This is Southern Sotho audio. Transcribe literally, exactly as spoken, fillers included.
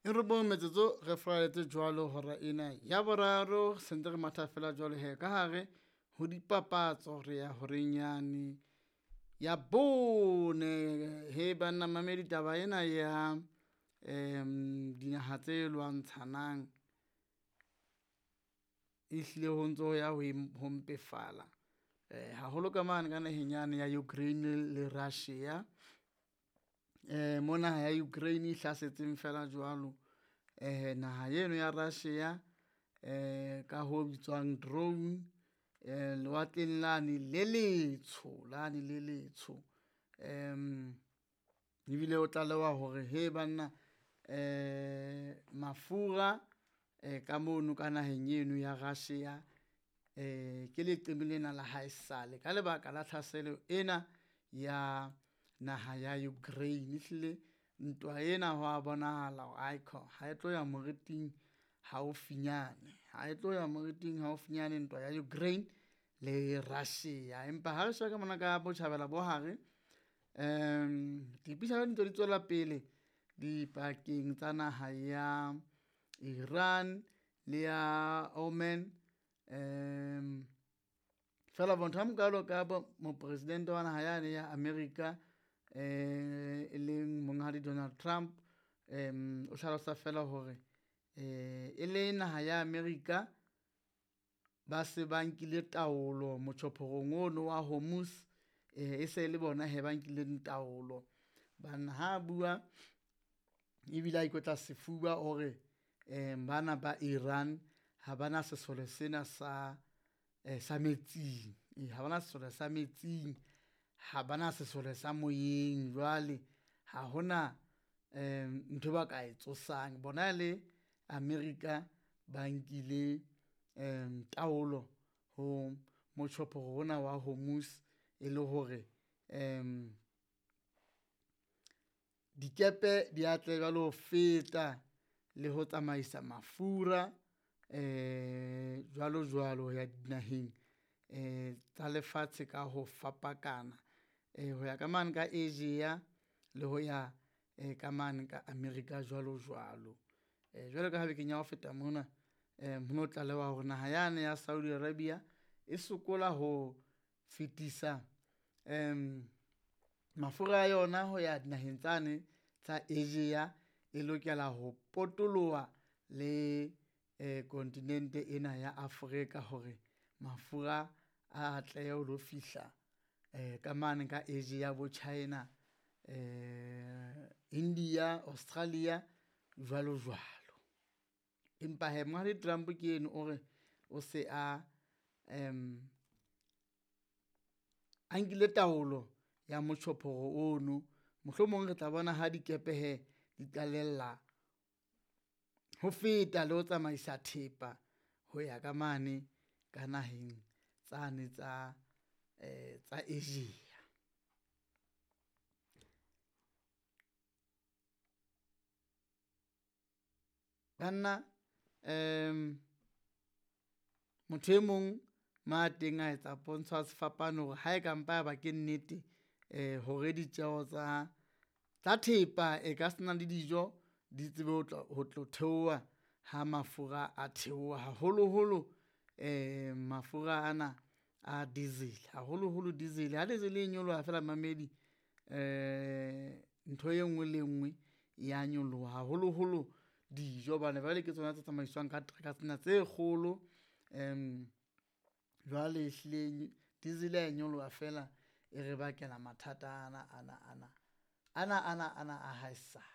E robong metsotso re furaletse jwalo hora ena ya boraro, sentse re matha fela jwalo he ka hare ho dipapatso re ya horeng yane ya bone. He banna mamedi taba ena ya dinaha tse lwantshanang, ehlile ho ntso ya ho ho mpefala haholo ka mane ka naheng yane ya Ukraine le Russia. Mo naha ya Ukraine e hlasetseng feela jwalo naha eno ya Russia ka ho bitswang drone lewatleng lane le letsho, lane le letsho. Ebile o tlalewa hore he banna mafura ka mono ka naheng eno ya Russia ke leqeme lena la haesale ka lebaka la tlhaselo ena ya naha ya Ukraine. Ehlile ntwa ena hwa bonahala hore aikhona ha e tlo ya moriting haufinyane, ha e tlo ya moriting haufinyane ntwa ya Ukraine le Russia. Empa ha re sheba ka mona ka botjhabela bo hare dipuisano di ntse di tswela pele dipakeng tsa naha ya Iran le ya Oman. Feela motho a mokalo ka mopresidente wa naha yane ya America e leng monghadi Donald Trump o hlalosa fela hore e le naha ya America, ba se ba nkile taolo motjhophorong ono wa Hormuz, e se le bona hee ba nkileng taolo. Banna ha bua ebile a ikotla sefuba o re bana ba Iran ha bana sesole sena sa, sa metsing, ee ha bana sesole sa metsing, ha bana sesole sa moyeng. Jwale ha hona nthwe ba ka e tsosang bona le America ba nkile taolo ho motjhophoro ona wa Hormuz e le hore dikepe di atlehe jwale ho feta le ho tsamaisa mafura jwalo jwalo ho ya dinaheng tsa lefatshe ka ho fapakana ho ya ka mane ka Asia le ho ya ka mane ka America jwalo jwalo. Jwalo ka ha bekeng ya ho feta mona ho no tlalewa hore naha yane ya Saudi Arabia e sokola ho fetisa mafura a yona ho ya dinaheng tsane tsa Asia, e lokela ho potoloha le kontinente ena ya Afrika hore mafura a atlehe ho lo fihla ka mane ka Asia bo China, India, Australia jwalo jwalo. Empa hee Monghadi Trump ke eno o re o se a a nkile taolo ya motjhophoro ono, mohlomong re tla bona ha dikepe hee di qalella ho feta le ho tsamaisa thepa ho ya ka mane ka naheng tsane tsa tsa Asia. Banna motho e mong ma teng a etsa pontsho ya sefapano hore ha e ka mpa ya ba ke nnete hore ditjeho tsa, tsa thepa e ka sena le dijo di tsebe ho tla ho tlo theoha ha mafura a theoha, haholoholo mafura ana a diesel, haholoholo diesel. Ha diesel e nyoloha fela momamedi ntho e nngwe le e nngwe ya nyoloha, haholoholo dijo hobane jwale ke tsona tse tsamaiswang ka teraka tsena tse kgolo. Jwale ehlile diesel ha e nyoloha fela e re bakela mathata ana ana ana, ana ana ana a haesale.